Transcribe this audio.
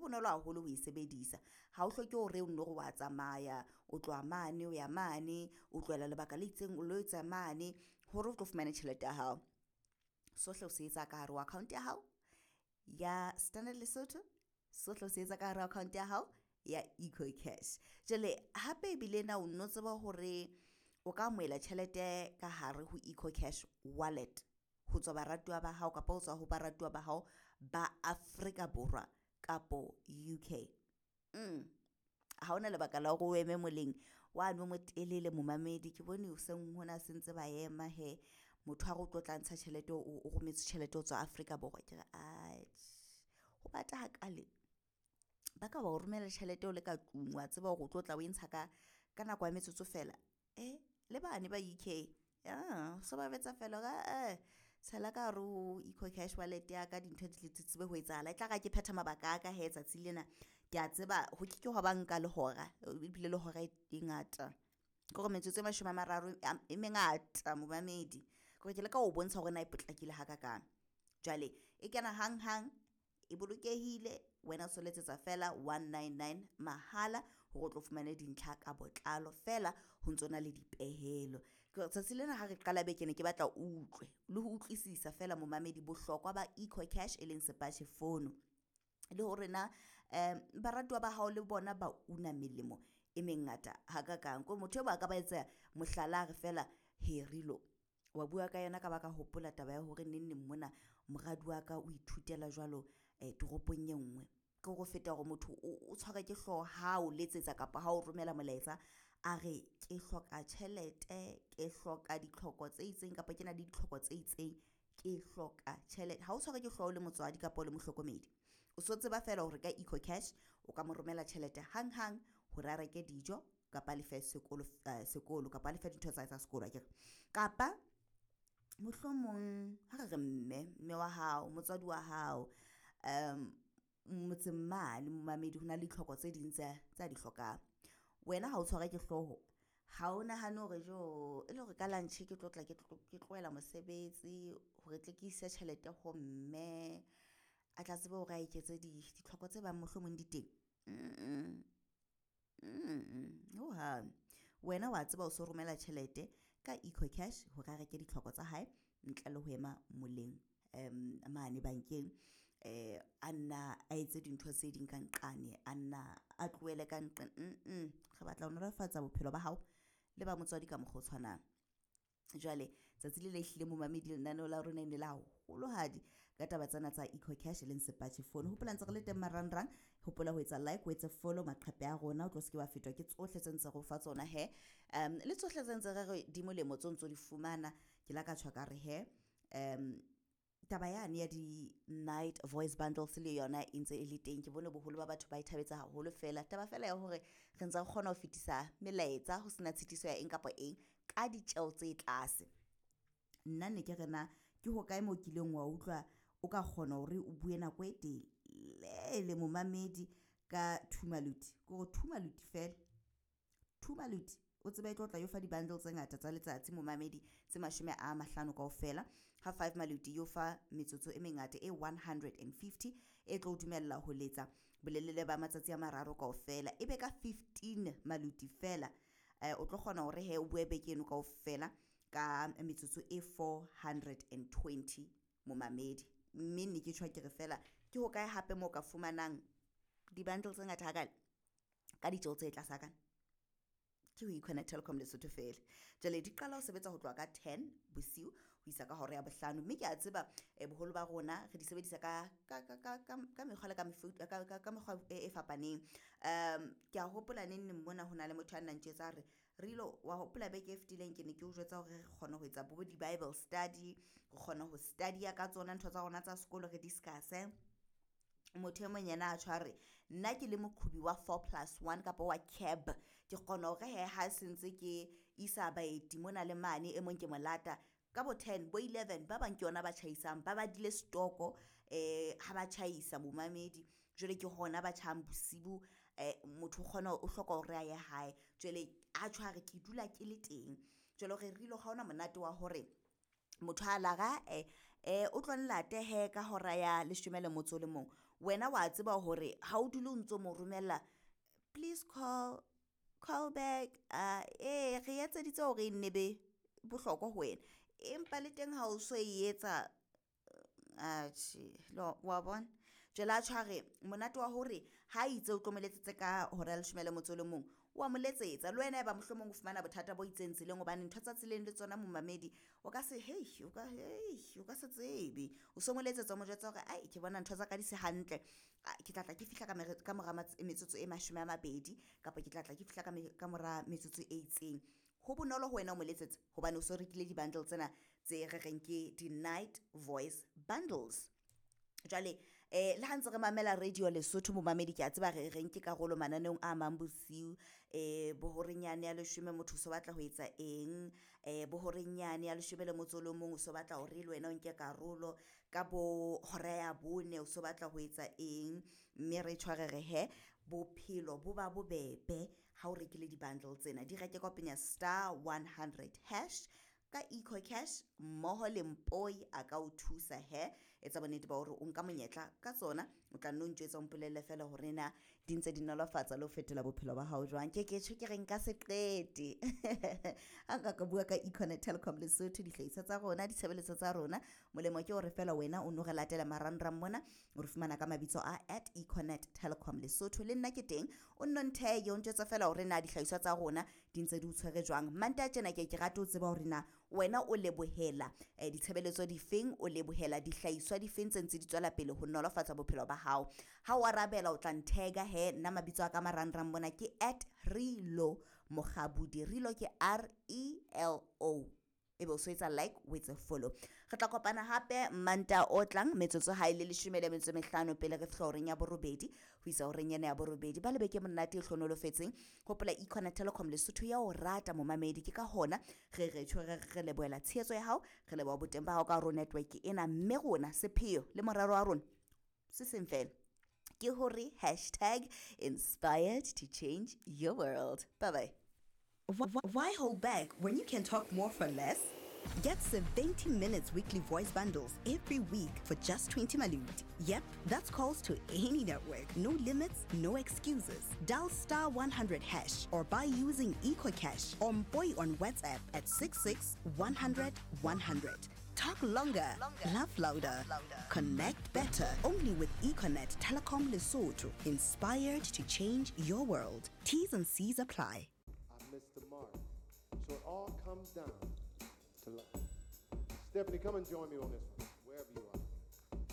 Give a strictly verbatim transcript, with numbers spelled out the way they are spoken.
bonolo haholo ho e sebedisa. Ha o hloke hore o nno re wa tsamaya, o tloha mane o ya mane, o tlohela lebaka le itseng o lo etsa mane hore o tlo fumane tjhelete ya hao. Sohle o se etsa ka hare ho account ya hao ya Standard Lesotho, sohle o se etsa ka hare ho account ya hao ya EcoCash. Jwale hape ebile na o nno tseba hore o ka amohela tjhelete ka hare ho EcoCash wallet ho tswa baratuwa ba hao kapa ho tswa ho baratuwa ba hao ba Afrika Borwa kapo U K. Ha hona lebaka la hore o eme moleng wane o motelele momamedi, ke bone hoseng hona se ntse ba ema he, motho a re o tlo tla ntsha tjhelete o rometswe tjhelete ho tswa Afrika Borwa. Ke re atjhe ho bata hakale, ba ka ba o romela tjhelete o le ka tlung wa tseba hore o tlo tla o e ntsha ka ka nako ya metsotso fela. Eh le bane ba U K so ba jwetsa fela hore eh tshela ka hare ho EcoCash wallet ya ka dintho di tsebe ho etsahala. E tla re ha ke phetha mabaka a ka hee tsatsi lena, ke a tseba ho ke ke hwa ba nka le hora ebile le hora e ngata, ke hore metsotso e mashome a mararo e mengata momamedi. Ke hore ke leka ho bontsha hore na e potlakile hakakang. Jwale e kena hanghang, e bolokehile, wena o so letsetsa fela one nine nine mahala hore o tlo fumane dintlha ka botlalo fela ho ntsona le dipehelo. Tsatsi lena ha re qala beke ne ke batla o utlwe le ho utlwisisa fela momamedi bohlokwa ba EcoCash e leng sepatjhe fono, le hore na baratuwa ba hao le bona ba una melemo e mengata hakakang. Ko motho e mong a ka ba etsa mohlala a re fela he Rilo wa bua ka yona ka ba ka hopola taba ya hore neng neng mona moradi wa ka o ithutela jwalo toropong e nngwe. Ke hore ho feta hore motho o tshwarwe ke hlooho ha o letsetsa kapa ha o romela molaetsa a re ke hloka tjhelete, ke hloka ditlhoko tse itseng kapa ke na le ditlhoko tse itseng, ke hloka tjhelete. Ha o tshwarwe ke hlooho le motswadi kapa o le mohlokomedi, o so tseba fela hore ka EcoCash o ka mo romela tjhelete hanghang hore a reke dijo kapa a lefe sekolo sekolo kapa a lefe dintho tsa hae tsa sekolo akere. Kapa mohlomong ha re re mme, mme wa hao, motswadi wa hao motseng mane momamedi ho na le ditlhoko tse ding tse tsa di hlokang. Wena ha o tshwarwe ke hlooho, ha o nahane hore jo e le hore ka lunch ke tlo tla ke tlohela mosebetsi hore tle ke ise tjhelete ho mme a tla tsebe hore a eketse ditlhoko tse bang mohlomong di teng. Hohang wena wa tseba o so romela tjhelete ka EcoCash hore a reke ditlhoko tsa hae ntle le ho ema moleng mane bankeng, a nna a etse dintho tse ding ka nqane, a nna a tlohele ka nqane. Re batla ho nolofatsa bophelo ba hao le ba motswadi ka mokgwa o tshwanang. Jwale tsatsi le le hlile momamedi lenaneo la rona e ne le haholohadi ka taba tsena tsa EcoCash e leng sepatjhe fono. Hopola ntse re le teng marangrang, hopola ho etsa like, o etse follow maqhepe a rona, o tlo se ke wa fetwa ke tsohle tse ntse re o fa tsona he. Le tsohle tse ntse re re di molemo tseo ntso di fumana. Ke la ka tjho ka re he taba yane ya di-night voice bundles le yona e ntse e le teng. Ke bone boholo ba batho ba e thabetse haholo fela. Taba fela ya hore re ntse re kgona ho fetisa melaetsa ho sena tshitiso ya eng kapa eng ka ditjeho tse tlase. Nna ne ke re na ke hokae moo kileng wa utlwa o ka kgona hore o bue nako e telele momamedi ka two maluti, ke hore two maluti fela, two maluti o tsebe e tlo tla yo fa di-bundle tse ngata tsa letsatsi momamedi tse mashome a mahlano kaofela. Ha five maluti yo fa metsotso e mengata e one hundred and fifty e tlo dumella ho letsa bolelele ba matsatsi a mararo kaofela. Ebe ka fifteen maluti fela o tlo kgona hore he o bue beke eno kaofela ka metsotso e four hundred and twenty momamedi. Mme ne ke tjho ke re fela ke hokae hape moo ka fumanang di-bundle tse ngata hakale ka ditjeho tse tlase hakana? Ke ho Econet Telkom Lesotho fela. Jwale di qala ho sebetsa ho tloha ka ten bosiu ho isa ka hora ya bohlano, mme ke a tseba boholo ba rona re di sebedisa ka ka ka ka ka mekgwa le ka mefuta ka ka mekgwa e fapaneng. Ke a hopola neng neng mona ho na le motho a nna ntjwetsa a re Rilo wa hopola beke e fetileng ke ne ke o jwetsa hore re kgona ho etsa bo di-Bible study, re kgona ho study-a ka tsona ntho tsa rona tsa sekolo re discuss-e. Motho e mong yena a tjho a re nna ke le moqhobi wa four plus one kapa wa cab, ke kgona hore he ha se ntse ke isa baeti mona le mane, e mong ke molata ka bo ten bo eleven ba bang ke yona ba tjhaisang, ba badile stoko eh ha ba tjhaisa momamedi. Jwale ke hona ba tjhang bosibu, eh motho o kgona o hloka hore a ye hae. Jwale a tjho a re ke dula ke le teng. Jwale hore Rilo ha hona monate wa hore motho a lara eh o tlo nlate he ka hora ya leshome le motso le mong, Wena wa tseba hore ha o dule o ntso mo romella please call, call back, uh, eh re etseditse hore e nne be bohlokwa ho wena. Empa le teng ha o so e etsa, atjhe, wa bona. Jwale a tjho a re monate wa hore ha itse o tlo mo letsetse ka hora ya leshome le motso o le mong, wa mo letsetsa le wena eba mohlomong o fumana bothata bo itseng tseleng, hobane ntho tsa tseleng le tsona momamedi o ka se hei o ka hei o ka se tsebe. O so mo letsetsa o mo jwetsa hore ai ke bona ntho tsa ka di se hantle, ke tla tla ke fihla ka mora metsotso e mashome a mabedi kapa ke tla tla ke fihla ka mora metsotso e itseng. Ho bonolo ho wena o mo letsetsa hobane o so rekile di-bundle tsena tse re reng ke di-night voice bundles. Jwale eh le ha ntse re mamela radio Lesotho momamedi, ke a tseba re re nke karolo mananeong a mang bosiu, eh bohorenyane ya leshome motho o so batla ho etsa eng, eh bohorenyane ya leshome le motso o le mong o so batla hore le wena o nke karolo, ka bo hora ya bone o so batla ho etsa eng, mme re tshware re he bophelo bo ba bobebe ha o rekile di-bundle tsena. Di reke ka ho penya star one hundred hash ka EcoCash mmoho le Mpoi a ka o thusa he. Etsa bonnete ba hore o nka monyetla ka tsona, o tla nno ntjwetsa o mpolelle feela hore na di ntse di nolofatsa le ho fetola bophelo ba hao jwang. Ke ke tjho ke re nka se qete ha nka ka bua ka Econet Telecom Lesotho, dihlahiswa tsa rona, ditshebeletso tsa rona. Molemo ke hore feela wena o no re latela marangrang mona, o re fumana ka mabitso a at Econet Telecom Lesotho. Le nna ke teng, o nno ntheye o ntjwetsa feela hore na dihlahiswa tsa rona di ntse di o tshwere jwang. Mantaha tjena ke ke rate ho tseba hore na wena o lebohela eh, ditshebeletso difeng, o lebohela dihlahiswa difeng tse ntse di tswela pele ho nolofatsa bophelo ba hao. Ha o arabela o tla nthega he, nna mabitso a ka marangrang mona ke at Relo Mokgabudi. Relo ke R E L O. Ebe o so etsa like, o etse follow. Re tla kopana hape Mantaha o tlang metsotso ha e le leshome le metso e mehlano pele re fihla horeng ya borobedi ho isa horeng ena ya borobedi. Ba lebe ke monate e hlonolofetseng. Hopola Econet Telecom Lesotho ya o rata momamedi, ke ka hona re re tjho re re lebohela tshehetso ya hao, re leboha boteng ba hao ka hare ho network ena, mme rona sepheo le morero wa rona se seng fela ke hore hashtag inspired to change your world. Bye bye. Why hold back when you can talk more for less? Get seventy minutes weekly voice bundles every week for just twenty malut. Yep, that's calls to any network. No limits, no excuses. Dial star one hundred hash or buy using EcoCash or Mpoi on WhatsApp at six six one hundred one hundred. Talk longer, longer, laugh louder, louder, connect better. Only with Econet Telecom Lesotho. Inspired to change your world. T's and C's apply. I missed the mark. So it all comes down to love. Stephanie, come and join me on this one, wherever you are.